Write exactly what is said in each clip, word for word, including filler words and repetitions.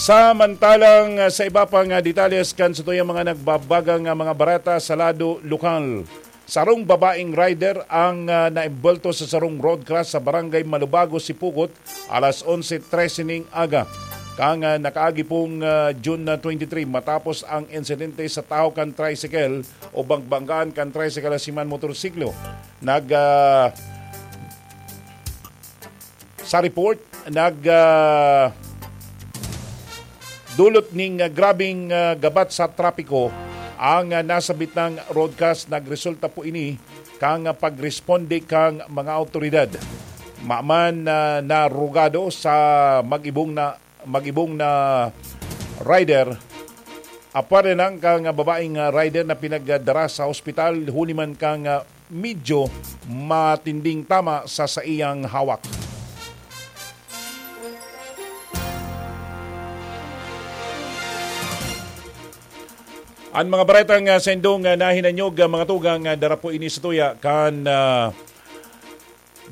Samantalang, ah, sa iba pang, ah, detalles kan satuyang mga nagbabagang, ah, mga bareta sa lado lokal, sarong babaeng rider ang, ah, naembwelto sa sarong road crash sa Barangay Malubago, Sipocot, alas onse trese ning aga. Kan, ah, nakaagi pong, ah, June twenty-three, matapos ang insidente sa tahaw kan tricycle o banggaan kan tricycle asin man motorsiklo. Nag, ah, sa report, nag, ah, dulot ning, ah, grabeng, ah, gabat sa trapiko ang, ah, nasabitang road crash. Nagresulta po ini kan, ah, pagresponde kan mga awtoridad. Maman na narugado sa mag-ibong na, mag-ibong na rider, apwera nang kan, ah, babaeng, ah, rider na pinagdara sa ospital huli man kan, ah, medyo matinding tama sa saiyang hawak. An mga baretang, ah, sa indong, ah, nahinanyog, ah, mga tugang, ah, dara po ini sa tuya kan, ah,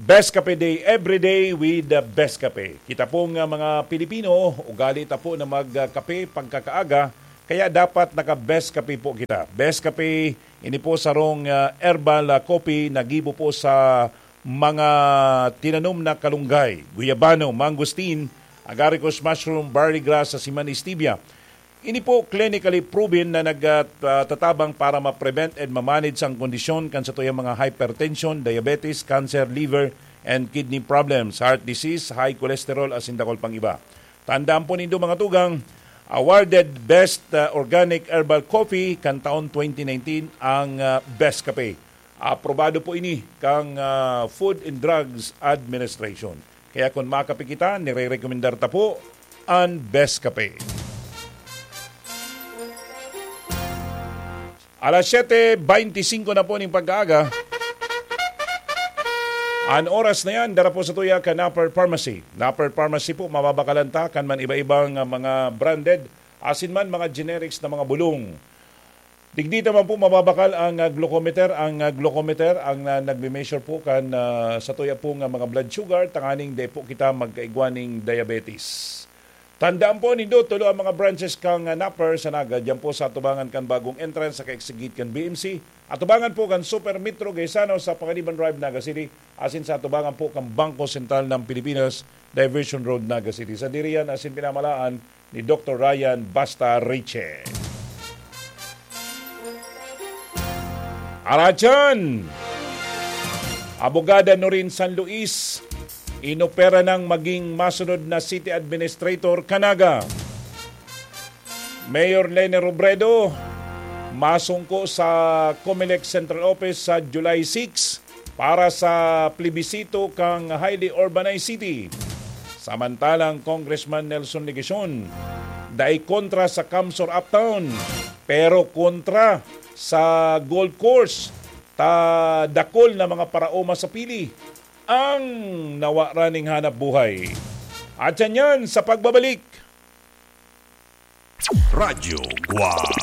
Best Kape Day, every day with the Best Kape. Kita pong, ah, mga Pilipino, ugali ta po na magkape pagkakaaga, kaya dapat naka-Best Kape po kita. Best Kape, ini po sarong, ah, herbal, ah, coffee na gibo po sa mga tinanom na kalunggay, guyabano, mangosteen, agaricus mushroom, barley grass, asin man stevia. Ini po clinically proven na nagtatabang para ma-prevent and ma-manage ang kondisyon kan satuyang mga hypertension, diabetes, cancer, liver, and kidney problems, heart disease, high cholesterol, asin dakul pang iba. Tandaan po nindo, mga tugang, awarded Best, uh, Organic Herbal Coffee kan taon twenty nineteen ang, uh, Best Kape. Aprobado po ini kan, uh, Food and Drugs Administration. Kaya kung makape kita, nire-rekomendar ta po an Best Kape. Alas siyete beintisinko na po ning pagkaaga. An oras na yan, dara po sa tuya kan Napper Pharmacy. Napper Pharmacy po, mababakalan ta kan man iba-ibang, ah, mga branded, asin man mga generics na mga bulong. Digdi ta man po mababakal ang, ah, glucometer, ang, ah, glucometer ang, ah, nagme-measure po kan, ah, sa tuya pong, ah, mga blood sugar, tanganing dai po kita magkaigwa ning diabetes. Tandaan po nindo, tulo ang mga branches kan, ah, Napper sa Naga, diyan po sa atubangan kan bagong entrance sa ka-exit gate kan B M C, atubangan po kan Super Metro Gaisano sa Panganiban Drive, Naga City, asin sa atubangan po kan Bangko Sentral ng Pilipinas, Diversion Road, Naga City. Sadiri yan asin pinamalaan ni Doktor Ryan Basta Riche. Aratyan! Abogada Norin San Luis, inopera nang maging masunod na city administrator kan Naga. Mayor Leni Robredo, masungko sa Comelec Central Office sa July six para sa plebisito kan highly urbanized city. Samantalang Congressman Nelson Legacion, dai kontra sa CamSur Uptown, pero kontra sa golf course, ta dakul na mga paraoma sa pili ang nawara ning hanap buhay. At yan yan sa pagbabalik. Radyo Guwang.